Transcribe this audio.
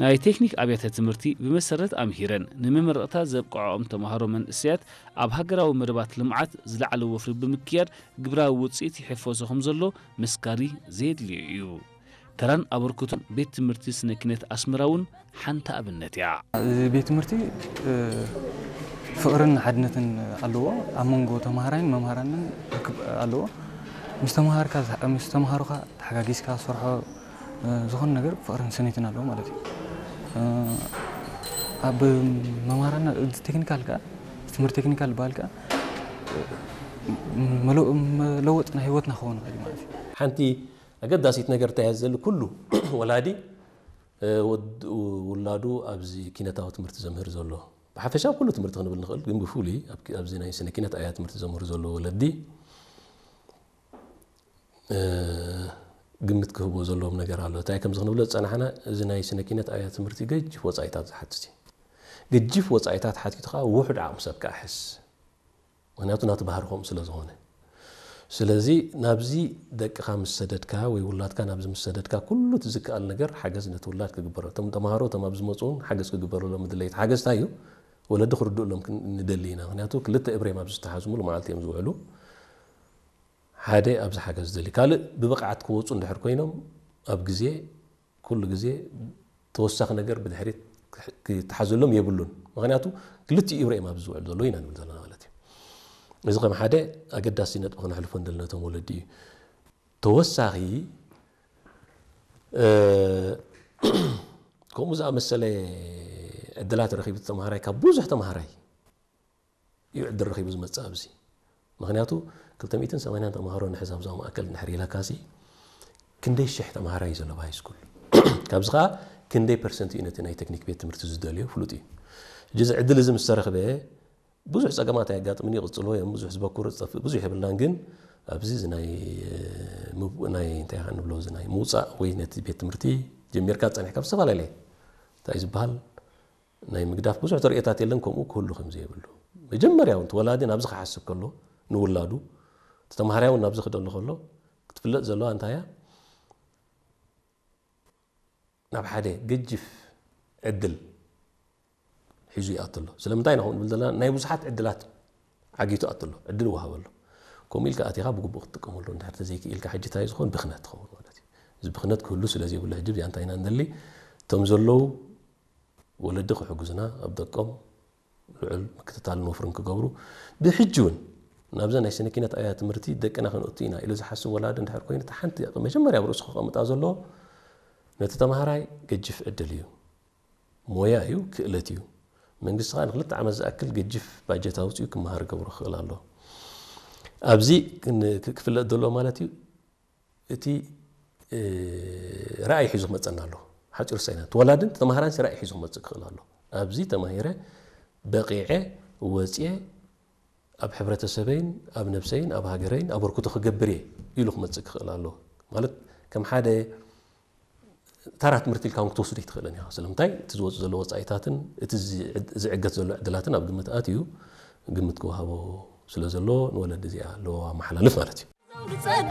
ናይ ቴክኒክ ኣብያተ ትምህርቲ ብመሰረት ኣምሂረን ንመመረቕታ ዘብቅዖም ተምሃሮ መንእሰያት ኣብ ሃገራዊ መደባት ልምዓት ዝለዓለ ወፍሪ ብምክያድ ግብራዊ ውፅኢት ይሕፈሶ ከም ዘሎ ምስካሪ ዘየድልዮ እዩ። ተራን ኣበርክቶን ቤት ትምህርቲ ስነ ኪነት ኣስመራ እውን ሓንቲ ኣብነት እያ። እዚ ቤት ትምህርቲ ፍቕርን ሓድነትን ኣለዎ። ኣብ መንጎ ተምሃራይን መምሃራንን ርክብ ኣለዎ። ምስ ተምሃርካ ምስ ተምሃሮኻ ተሓጋጊዝካ ሰርሖ ዝኾነ ነገር ፍቕርን ስኒትን ኣለዎ ማለት እዩ። ኣብ መምሃራና ቴክኒካል ከኣ ትምህርቲ ቴክኒካል ዝበሃል ከኣ መለወጢ ናይ ህይወትና ክኸውን ይኽእል እዩ ማለት እዩ። ሓንቲ ኣገዳሲት ነገር እንታይ እያ ዘሊ ኩሉ ወላዲ ውላዱ ኣብዚ ኪነታዊ ትምህርቲ ዘምህር ዘሎ ብሓፈሻ ኩሉ ትምህርቲ ክንብል ንኽእል ግን ብፍሉይ ኣብዚ ናይ ስነ ኪነት ኣብያ ትምህርቲ ዘምህር ዘሎ ወለዲ ግምት ክህብዎ ዘለዎም ነገር ኣሎ። እንታይ ከምዚ ክንብሎ ዝጸናሕና እዚ ናይ ስነ ኪነት ኣብያ ትምህርቲ ገጅፍ ወጻኢታት ዝሓትት እዩ። ገጅፍ ወጻኢታት ሓቲቱ ከዓ ውሑድ ዓቕሚ ሰብ ከዓ ሕስ ምክንያቱ ናቲ ባህሪ ከምኡ ስለ ዝኾነ ስለዚ ናብዚ ደቅኻ ምስ ሰደድካ ወይ ውላድካ ናብዚ ምስ ሰደድካ ኩሉ እቲ ዝከኣል ነገር ሓገዝ ነቲ ውላድ ክግበሮ እቶም ተምሃሮ እቶም ኣብ ዝመፁ እውን ሓገዝ ክግበረሎም ምድለይቲ ሓገዝ እንታይ እዩ ወለዲ ክርድእሎም ንደሊ ኢና ምክንያቱ ክልተ እብሬም ኣብዚ ዝተሓዙ ሙሉ መዓልቲ እዮም ዝውዕሉ ሓደ ኣብዚ ሓገዝ ዝደሊ ካልእ ብብቕዓት ክወፁ እንድሕር ኮይኖም ኣብ ግዜ ኩሉ ግዜ ተወሳኺ ነገር ብድሕሪት ክተሓዘሎም የብሉን። ምኽንያቱ ክልቲኡ ኢብራሂም ኣብዚ ዝውዕል ዘሎ ኢና ንብል ዘለና ማለት እዩ። እዚ ከም ሓደ ኣገዳሲ ነጥቢ ክነሕልፎ እንደለና ነቶም ወለዲ እዩ። ተወሳኺ ከምኡ ዝኣመሰለ ዕድላት ረኺቡ ተምሃራይ ካብ ብዙሕ ተምሃራይ እዩ ዕድል ረኺቡ ዝመፅእ ኣብዚ ምኽንያቱ ክልተ ሚእትን ሰማንያን ተምሃሮ ንሕዝ ኣብዛ ማእከል እንድሕር ኢለካሲ ክንደይ ሽሕ ተምሃራይ እዩ ዘሎ ብሃይ ስኩል ካብዚ ከዓ ክንደይ ፐርሰንት እዩ ነቲ ናይ ቴክኒክ ቤት ትምህርቲ ዝደልዮ ፍሉጥ እዩ ሕጂ እዚ ዕድል እዚ ምስ ተረኽበ ብዙሕ ፀገማት ኣየጋጥምን እዩ ይቕፅልዎ እዮም ብዙሕ ዝበኩር ዝጠፍእ ብዙሕ የብልናን ግን ኣብዚ እዚ ናይ ናይ እንታይ ንብሎ እዚ ናይ ምውፃእ ወይ ነቲ ቤት ትምህርቲ ጀሚርካ ፀኒሕካ ብዝተፈላለየ እንታይ ዝበሃል ናይ ምግዳፍ ብዙሕ ተርእዮታት የለን ከምኡ ክህሉ ከም ዘየብሉ መጀመርያ እውን ወላዲ ናብዚ ክሓስብ ከሎ ንውላዱ ተማሃርያ እውን ናብዚ ክደሉ ከሎ ክትፍለጥ ዘለዋ እንታይ እያ ናብ ሓደ ገጅፍ ዕድል ሒዙ ይኣቱ ኣሎ ስለምንታይ ኢና ንብል ዘለና ናይ ብዙሓት ዕድላት ዓጊቱ ኣቱ ኣሎ ዕድል ወሃበ ኣሎ ከምኡ ኢልካ ኣቲኻ ብግቡእ ክትጥቀመሉ እንድሕር ተዘይክኢልካ ሕጂ እንታይ ዝኾን ብኽነት ትኸውን ማለት እዩ እዚ ብኽነት ክህሉ ስለ ዘይብሉ ሕጂ እዚኣ እንታይ ኢና ንደሊ እቶም ዘለዉ ወለዲ ክሕግዙና ኣብ ደቆም ልዑል ምክትታልን ወፍርን ክገብሩ ብሕጂ እውን ናብዛ ናይ ስነ ኪነት ኣብያ ትምህርቲ ደቅና ክንእቱ ኢና ኢሉ ዝሓስብ ወላዲ እንድሕር ኮይኑ እቲ ሓንቲ መጀመርያ ኣብ ርእሱ ክቐምጣ ዘለዎ ነቲ ተምሃራይ ገጅፍ ዕድል እዩ ሞያ እዩ ክእለት እዩ መንግስቲ ከዓ ንክልተ ዓመት ዝኣክል ገጅፍ ባጀት ኣውፅኡ ክመሃር ገብሮ ክኽእል ኣሎ ኣብዚ ክፍለጥ ዘሎ ማለት እዩ እቲ ራእይ ሒዙ ክመፀና ኣሎ ሓፂሩ ሳይና ተወላድን ተማሃራን ራእይ ሒዙ ክመፅእ ክኽእል ኣሎ ኣብዚ ተማሂረ በቂዐ ወፅየ ኣብ ሕብረተሰበይን ኣብ ነብሰይን ኣብ ሃገረይን ኣበርክቶ ክገብር እየ ኢሉ ክመፅእ ክኽእል ኣሎ ማለት ከም ሓደ ተራ ትምህርቲ ኢልካ እውን ክትወስዶ ኣይትኽእልን ኢኻ ስለምንታይ እቲ ዝወፁ ዘሎ ወፃኢታትን እቲ ዝዕገት ዘሎ ዕድላትን ኣብ ግምት ኣትዩ ግምት ክወሃቦ ስለ ዘሎ ንወለዲ እዚኣ ኣለዎ ኣመሓላልፍ ማለት እዩ ዝጸግብ